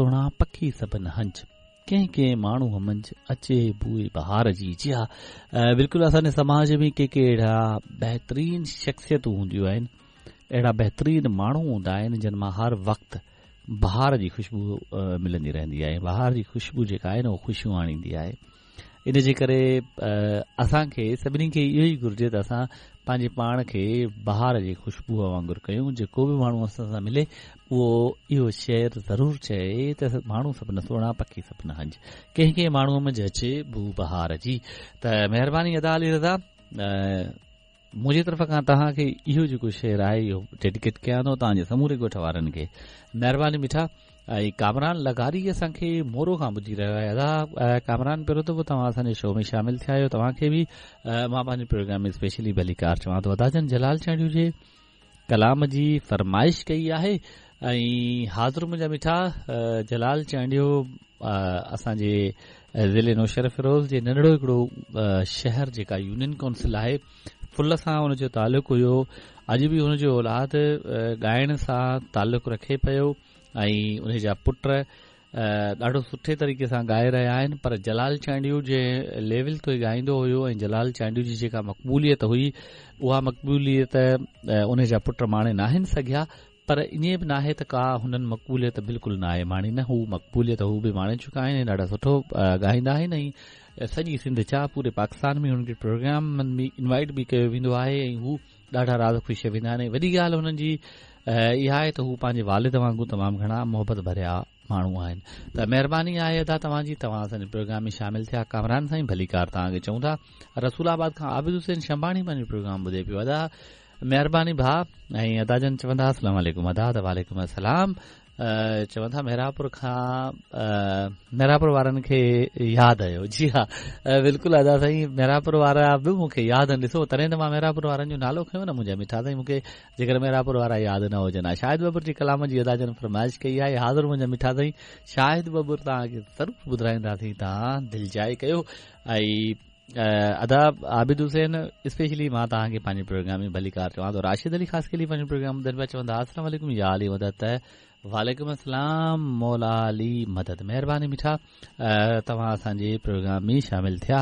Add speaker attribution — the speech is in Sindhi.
Speaker 1: سهڻا پکي سڀن هنج ڪنهن ڪنهن ماڻهوء منجهه اچي بوء بهار جي. جي ها بلڪل اسان جي سماج ۾ ڪي ڪي اهڙا بهترين شخصيتون هونديون آهن اهڙا بهترين ماڻهو هوندا آهن جن مان هر وقت بهار جي خوشبو ملندي رهندي آهي بهار جي خوشبو جيڪا آهي نه اها خوشيون آڻيندي آهي ان جي ڪري اسان کي سڀني کي اهو ئي گهرجي ته اسان پنهنجي پاڻ کي بهار جي خوشبوء وانگر ڪيون جيڪو به ماڻهو اسان سان ملي اهو اهو شعر ضرور چئي ته ماڻهو سڀ نه سهڻا پکي سڀ نه هنج ڪنهن ڪنهن ماڻهوء منجهه اچي بوء بهار جي ته مهرباني ادا علي رضا منهنجي طرف کان توهان کي اهو جيڪو شعر آهي اهو ڊيڊيڪيٽ ڪيان ٿو توهان جي سموري ڳوٺ وارن کي مهرباني مٺا ۽ ڪامران لغاري اسان کي مورو کان ٻڌي رهيو آهي ادا ڪامران پهريون دفعو توهان اسان جي شو ۾ شامل ٿيا آهيو توهان کي به مان پنهنجي پروگرام ۾ اسپيشلي ڀليڪار چوان ٿو ادا جن جلال چانڊيو جي ڪلام جي فرمائش ڪئي آهي ۽ حاضر منهنجا مٺا جلال چانڊيو اسان جي ضلعي نوشهروفيروز جي ننڍڙو هڪڙو شهر جيڪا يونين ڪونسل آهي ڦل سان ان جو تعلق هيو اڄ به ان جو اولاد ڳائڻ سان تعلق رکي پيو ۽ ان جا پٽ ڏاڍو سٺي طريقي سان ڳائي رهيا آهن پر جلال چانڊيو جنهن ليول تي ڳائيندو هيو ۽ جلال چانڊيو جي جيڪا مقبوليت هئي اها مقبوليت ان جا پٽ ماڻي ناهن سگهيا پر ائين به ناهي ته ڪا هنن مقبوليت بلڪل ناهي ماڻي نه هو مقبوليت هو به ماڻي چڪا آهن ۽ ڏاڍا سٺو ڳائيندا آهن ۽ سڄي سنڌ ڇا پوري پاڪستان ۾ هنن کي پروگرامن ۾ انوائٽ به ڪيو ويندو آهي ۽ هو ڏاڍا راض خوش ويندا آهن ۽ وڏي ڳالهه هنن جي اها آهي ته هو پنهنجي والد وانگر تمام گهڻا محبت ڀريا ماڻهو آهن ته مهرباني آهي ادا توهان جي توهان اسان جي پروگرام ۾ شامل ٿيا ڪامران سائين ڀليڪار توهان کي چئون ٿا رسول آباد کان عابد حسين شنباڻي پنهنجو پروگرام ٻڌي پيو ادا مهرباني ڀاء ۽ ادا جن چوندا السلام عليڪم ادا ته وعليڪم السلام چون ٿا محرابپور کان محرابپور وارن کي ياد آيو جي ها بلڪل ادا سائين محرابپور وارا به مون کي ياد آهن ڏسو تڏهن ته مان محرابپور وارن جو نالو کنيو نه منهنجا مٺا سائين مون کي جيڪر محرابپور وارا ياد نه هجن ها شاهد ٻٻر جي ڪلام جي ادا جن فرمائش ڪئي آهي حاضر منهنجا مٺا سائين شاهد ٻٻر توهان کي ضرور ٻڌرائينداسين توهان دلجاء ڪيو ۽ ادا عابد حسين اسپيشلي مان توهان کي پنهنجي پروگرام ۾ ڀليڪار چوان ٿو راشد علي خاصخيلي پنهنجو پروگرام ٻڌن پيا چون ٿا السلام عليڪم يا علي مدد ته وعليڪم السلام مولا علي مدد مهرباني مٺا توهان اسان جي پروگرام ۾ شامل ٿيا.